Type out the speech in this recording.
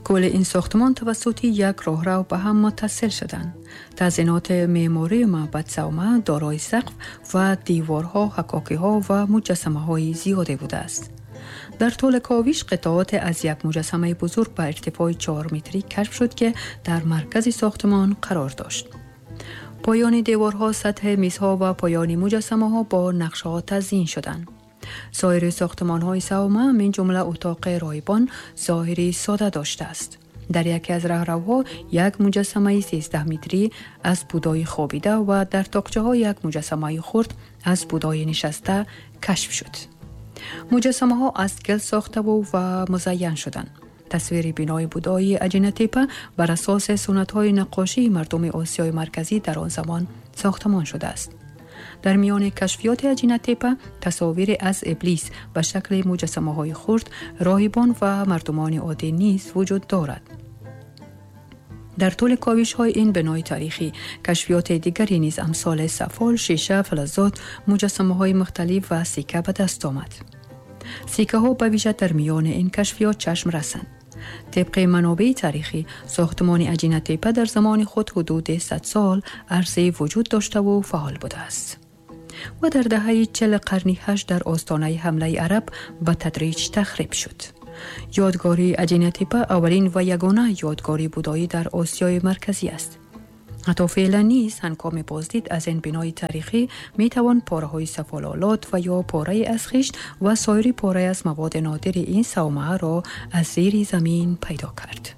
کل این ساختمان توسط یک راهرو به هم متصل شدند. تزئینات معماری معبد صومعه دارای سقف و دیوارها، حکاکی‌ها و مجسمه‌های زیادی بوده است. در طول کاوش قطعات از یک مجسمه بزرگ به ارتفاع 4 متری کشف شد که در مرکز ساختمان قرار داشت. پایان دیوارها، سطح میزها و پایان مجسمه‌ها با نقشه‌ها تزیین شدند. سایر ساختمان‌های صومعه من جمله اتاق راهبان ظاهری ساده داشته است. در یکی از راهروها یک مجسمه 13 متری از بودای خوابیده و در تاقچه‌ها یک مجسمه خرد از بودای نشسته کشف شد. مجسمه‌ها از گل ساخته و مزین شدند. تصویر بینای بودای اجینتیپه بر اساس سنت‌های نقاشی مردم آسیای مرکزی در آن زمان ساختمان شده است. در میان کشفیات اجینتیپه تصاویر از ابلیس به شکل مجسمه‌های خرد، راهبان و مردمان عادی نیز وجود دارد. در طول کاوش‌های این بنای تاریخی کشفیات دیگری نیز امثال سفال، شیشه، فلزات، مجسمه‌های مختلف و سکه به دست آمد. سکه‌ها به ویژه در میان این کشفیات چشم رسند. طبق منابع تاریخی ساختمان اجینتیپه در زمان خود حدود 100 سال عرضه وجود داشته و فعال بوده است و در دهه 40 قرن 8 در آستانه حمله عرب به تدریج تخریب شد. یادگاری اجینتیپه اولین و یگانه یادگاری بودایی در آسیای مرکزی است. حتی فعلا نیز هنگام بازدید از این بنای تاریخی می توان پاره‌های سفالالات و یا پاره از خشت و سایر پاره از مواد نادر این صومعه را از زیر زمین پیدا کرد.